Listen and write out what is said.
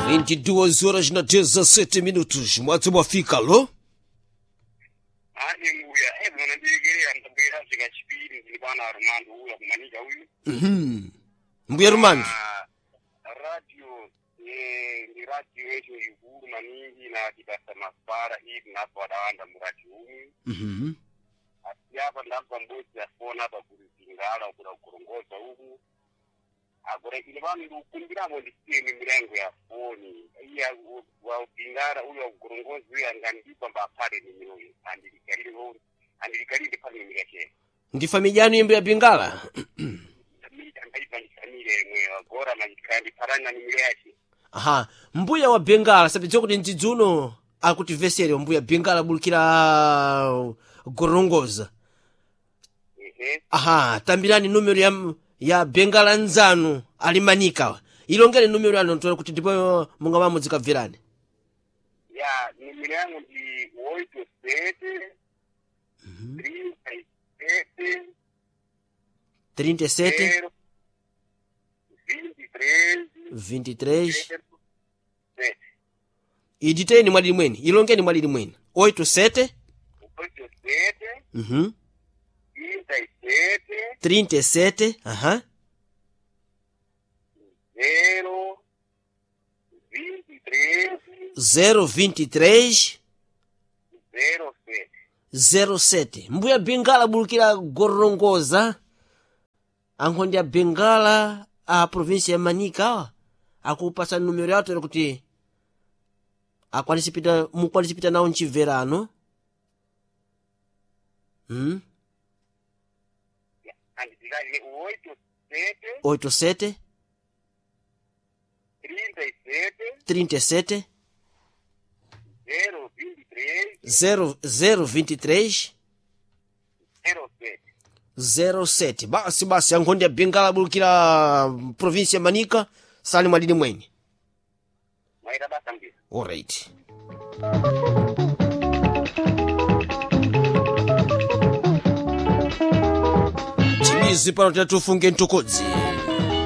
22 horas na 17 minutos. Mwatsi mwafika lo? Ane mbuya, munandiregerera ndabwera zvikachipiri ndiri bwana Armando uya kumanika uyu. Mbuya Rumando. Ah, radio ndi radio yetu ikulu maningi na tibasa mafara iyi tinabva wadawanda muradio umu. Asi apa ndabva mbudzi afona apa kuri zingala kuda kugorongoza uku. Agora ine vanhu ndikukumbiramo ndisiye mimirango ya foni. Iya wabhingara uyu wakugorongoza uyu angandipa mbapare nimiro iyi. Andilikalire andilikalire pane nimiro yake. Ndi famijani imbuya Bingala? Andaipa ndisamire mwe wagora mandikandiparana nimiro yake. Aha, mbuya wa Bengala sapedza kuti mdzidzi uno akutivesere mbuya Bengala bulukira gorongoza. Ehe. Aha, tambirani numero ya Bengala nzanu alimanika. Ilongere numero yanu ntola kuti ndipo mungamamu dzikabverani. Ya, nimiro yangu ndi 87 37 37 0 23 23 0 7. iditeni mwalili mweni ilongeni mwalili mweni 87 87 37 37 aha 0 23 023 07. 07 mbuya Bengala bulukira gorongoza ankhondi ya Bengala a província ya Manica akupasa numero yawo kuti akwanise pita mukwanise pita nawo mchibverano. Andikali 87 87 37 37 0 23 0 023 07. 07 basi basi ankhondi ya Bengala bulukira província ya Manica sali mwalili mweni. Maita basa mbira. Alright. Timizi pano tatufunge ntokodzi.